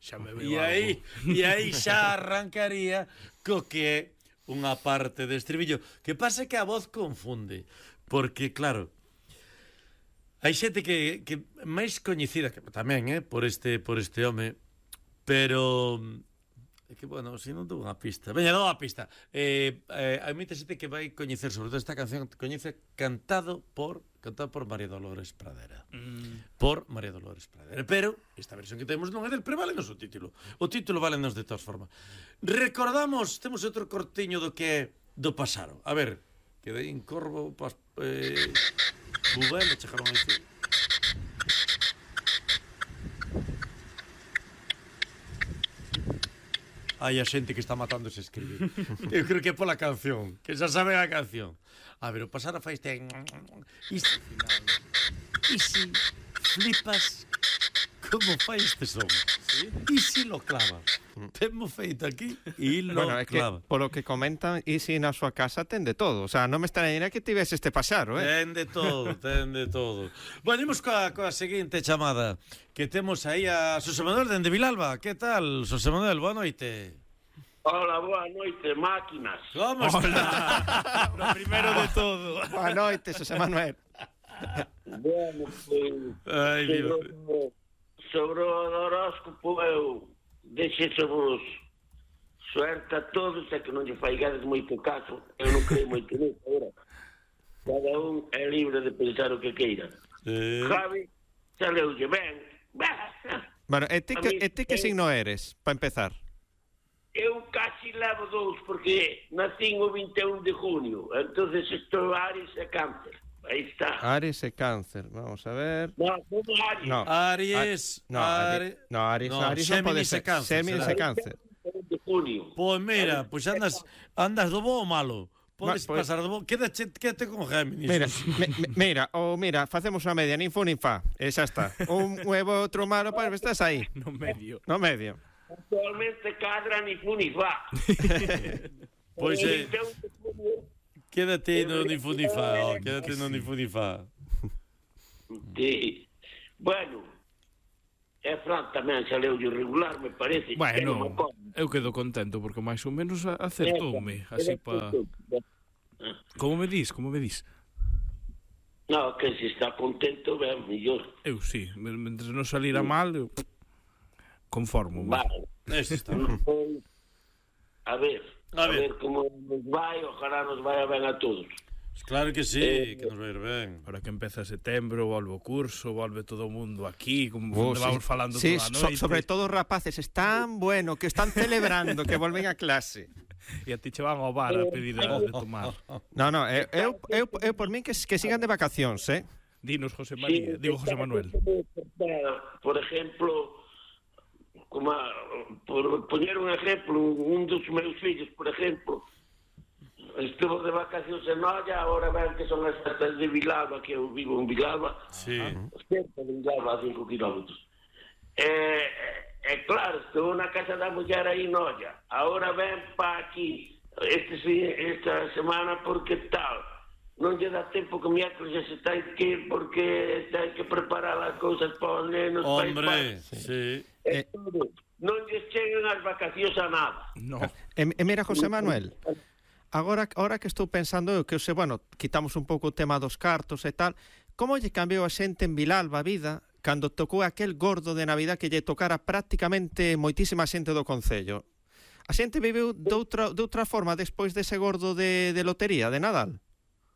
Xa me veo E aí xa arrancaría co que é unha parte de estribillo. Que pasa que a voz confunde, porque claro, hai xente que máis coñecida que tamén, por este home, pero é que, bueno, se non dou unha pista. Veña, dou unha pista. Hai moita xente que vai coñecer, sobre todo esta canción, coñece cantado por María Dolores Pradera. Por María Dolores Pradera. Pero esta versión que temos non é del, pero válenos o título. O título válenos de todas formas. Recordamos, temos outro cortiño do que é do Pasaro. A ver, quedei en Corvo, Bubel, chegaron a dicir. Hai a xente que está matándose a escribir. Eu creo que é pola canción, que xa saben a canción. A ver, o Pasaro fai este... E si flipas como fai este son? ¿Sí? E si lo clava? Temos feito aquí e lo clava. Que, polo que comentan, e si na súa casa ten de todo. O sea, non me extrañaría que tivese este Pasaro, Ten de todo. Bueno, imos coa seguinte chamada, que temos aí a Xosé Manuel dende Vilalba. Que tal, Xosé Manuel? Boa noite. Hola, boa noite, máquinas. Como está? Lo primeiro de todo. Boa noite, Xosé Manuel. Bueno, sobre o horóscopo eu deixesevos suerte a todos, é que non lle faigades moito caso, eu non creo moito nisso agora. Cada un é libre de pensar o que queira. Javi, saleulle ben. Bueno, e ti que signo eres, para empezar? Eu casi levo dous, porque nacín o 21 de junio, entonces estou Aries e Cáncer. Aí está. Aries e Cáncer, vamos a ver. No, como Aries. No. Aries. Aries non pode ser. Géminis e Cáncer. De junio. Pois mira, pois andas do bo ou malo? Podes pasar do bo. Quédate con Géminis. Mira, facemos unha media, nin fu nin fa, e xa está. Un huevo, outro malo, pois estás aí. No medio. Actualmente cadra ni fu ni fa. Pois quédate no ni fu ni fa, quédate no ni fu ni fa. Sí. Bueno, é Fran tamén xa leu regular, me parece. Bueno, eu quedo contento porque máis ou menos acertoume, así pa... Como me dis? No, que se está contento, ben, mellor. Eu sí, mentre non salira mal, eu conformo. Vale. Eso está. A ver como nos vai, ojalá nos vai ben a todos. Claro que sí, que nos vai ir ben. Ahora que empeza setembro, volve o curso, volve todo o mundo aquí, como vamos falando toda a noite. Sobre todo os rapaces, están bueno, que están celebrando que volven a clase. E a ti che van ao bar a pedir de tomar. No, eu por min que sigan de vacacións, Dinos, José María, digo José Manuel. Por ejemplo, por poñer un exemplo, un dos meus fillos, por exemplo, estuvo de vacacións en Noia, agora ven que son as festas de Vilalba, que eu vivo en Vilalba, cerca de Vilalba, a 5 kilómetros. Claro, estou na casa da muller aí en Noia, agora ven pa aquí, esta semana, porque tal, non lle dá tempo que miércoles já se ten que ir, porque ten que preparar as cousas para os nenos. Hombre, sí. Non lle cheguen as vacacións a nada. No. Mira, José Manuel, agora que estou pensando, que bueno, quitamos un pouco o tema dos cartos e tal, como lle cambiou a xente en Vilalba a vida cando tocou aquel gordo de Navidad que lle tocara prácticamente moitísima xente do concello? A xente viveu de outra forma despois dese gordo de lotería, de Nadal?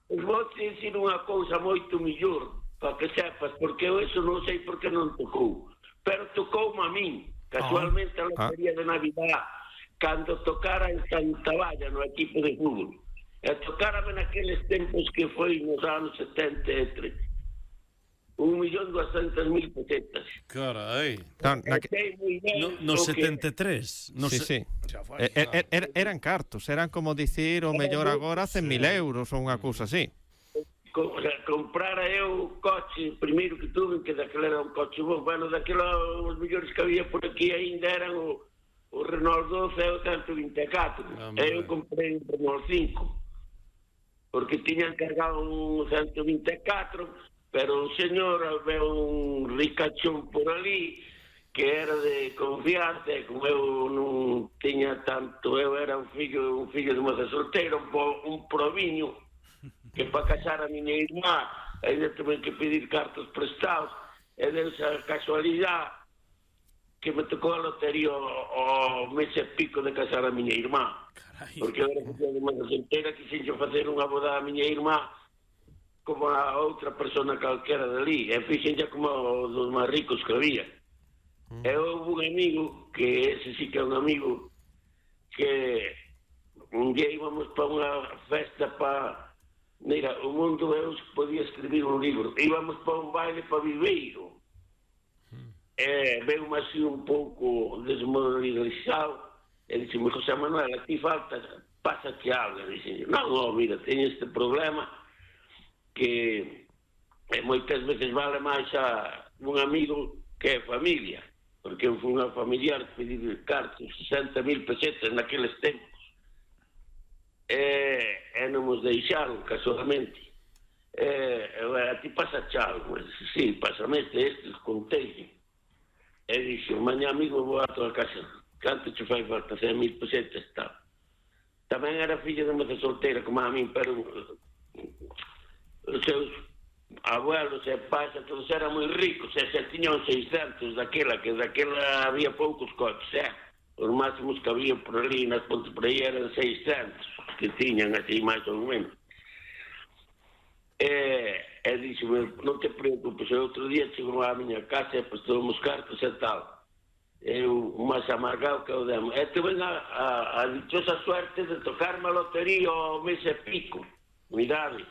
Vou te dicir unha cousa moito millor, para que sepas, porque eu eso non sei por que non tocou. Pero tocoume a min, casualmente a lotería de Navidad, cando tocara en Santa Valla, no equipo de fútbol. E tocárame naqueles tempos que foi nos anos 73. 1.200.000 pesetas. Carai. No 73. Sí. Eran cartos, eran como dicir o mellor agora 100.000 euros ou unha cousa así. Comprara eu coche, primeiro que tuve, que daquela era un coche bom, bueno, daquela os mellores que había por aquí ainda eran o Renault 12 e o 124. Eu comprei un Renault 5, porque tiñan cargado un 124, pero o señor veo un ricachón por ali que era de confianza, e como eu non tiña tanto, eu era un fillo de moza solteira, un proviño, que para casar a miña irmá ainda tuve que pedir cartos prestados, e desa casualidade que me tocou a lotería o mes e pico de casar a miña irmá. Porque eu era fillo de moza solteira, quixen facer unha boda a miña irmá como a outra persona calquera dali, e fixen como dos máis ricos que había. E houve un amigo, que ese sí que é un amigo, que un día íbamos para unha festa para... Mira, o mundo eu podía escribir un libro. Íbamos para un baile para Viveiro. E veume así un pouco desmoralizado. E dixeme, José Manuel, a ti falta, pásate algo. E dixen, non, mira, teño este problema que moitas veces vale máis a un amigo que é familia. Porque eu fui unha familiar pedir cartos, 60.000 pesetas naqueles tempos. E non nos deixaron, casualmente. A ti pasa algo. Sí, pásame estes contei. E dixo, mañá amigo vou a tua casa. Canto te fai falta? 100.000 pesetas, tal. Tamén era filla de moza solteira, como a min, pero os seus abuelos e pais todos eran moi ricos, e se tiñan 600 daquela, que daquela había poucos coches, os máximos que había por ali nas pontes por aí eran 600 que tiñan así máis ou menos. E dixeme, non te preocupes, outro día chegou á miña casa e prestou-me os cartos e tal, eu máis amargado que o demo, e tuve a dichosa suerte de tocarme a lotería ao mes e pico, mirade,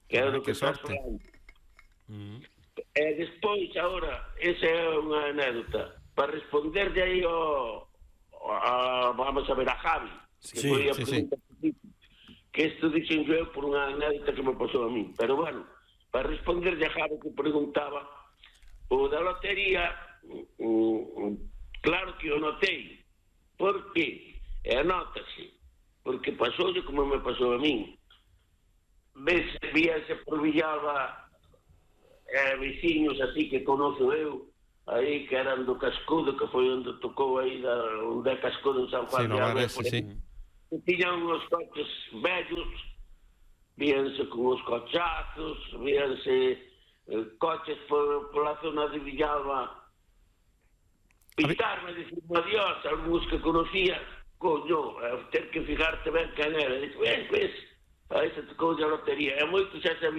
que é do que estás falando. E despois, agora, esa é unha anécdota para responder de aí vamos a ver, a Javi, que foi a pregunta que isto dixen eu por unha anécdota que me pasou a mí, pero bueno, para responder de a Javi que preguntaba o da lotería, claro que o notei. Por qué? E anótase, porque pasoulle como me pasou a mí. Víase por Villalba veciños así que conozo eu, aí que eran do Cascudo, que foi onde tocou aí, onde é Cascudo en San Juan de Arrefo, que tiñan uns coches vellos, víanse con os cochazos, víanse coches pola zona de Villalba, pintarme, dicirme adiós, algúns que conocía, coño, ter que fijarte ben quen era, dixo, ves, aí se tocou a lotería, e moito xa sabía